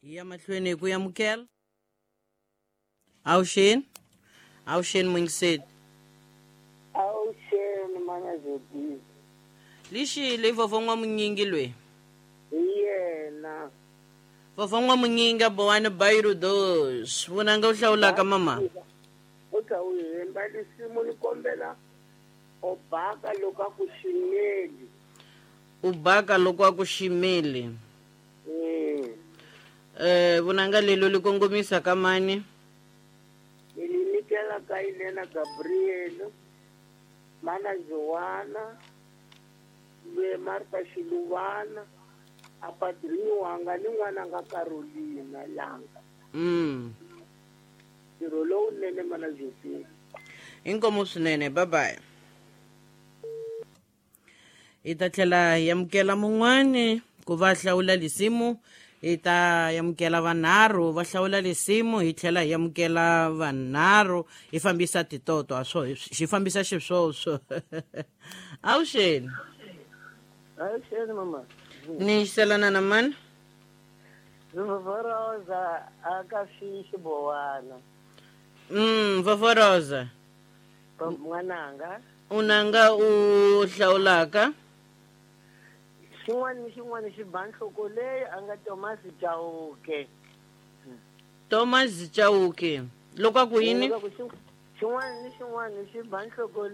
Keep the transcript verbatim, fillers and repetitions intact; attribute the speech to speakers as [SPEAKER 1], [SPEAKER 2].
[SPEAKER 1] Hi ya mahlweni hi ku amukela. Awuxeni, awuxeni muyingiseli.
[SPEAKER 2] Awuxeni mana Zodini.
[SPEAKER 1] Lixi leyi vovho n'wamunyingi loyi.
[SPEAKER 2] Hi yena.
[SPEAKER 1] Vovho n'wamunyingi bowani Bairro dos. Vunanga u hlawulaka mama.
[SPEAKER 2] U ta u hemba lisimu ni kombela u baka loko a ku ximeli.
[SPEAKER 1] U baka loko a ku ximeli.
[SPEAKER 2] Mm.
[SPEAKER 1] Eh vunanga lelo li kongomisa ka mani?
[SPEAKER 2] Ni li nyikela ka Elena Gabriel, mana Joana, le Martha Xiluvana, a padrini wanga ni n'wananga Carolina Langa.
[SPEAKER 1] Mm.
[SPEAKER 2] Ntirho lowunene mana Josephine.
[SPEAKER 1] Inkomu swinene, bye bye. Hi ta tlhela hi amukela mun'wani ku va hlawula lisimu, hi ta amukela vanharhu va hlawula lisimu, hi tlhela hi amukela vanharhu hi fambisa titoto a swo xi fambisa xiswoswo. Awuxeni.
[SPEAKER 2] Awuxeni mama.
[SPEAKER 1] Ni xiselana na mani?
[SPEAKER 2] Vovoroza aka xibowana.
[SPEAKER 1] Mm, Vovoroza.
[SPEAKER 2] N'wananga.
[SPEAKER 1] Unanga u hlawulaka?
[SPEAKER 2] Xin'wana ni xin'wana xi ba nhloko leyi a nga Thomas Chauke.
[SPEAKER 1] Thomas Chauke. Loko a ku yini?
[SPEAKER 2] Xin'wana ni xin'wana xi ba nhloko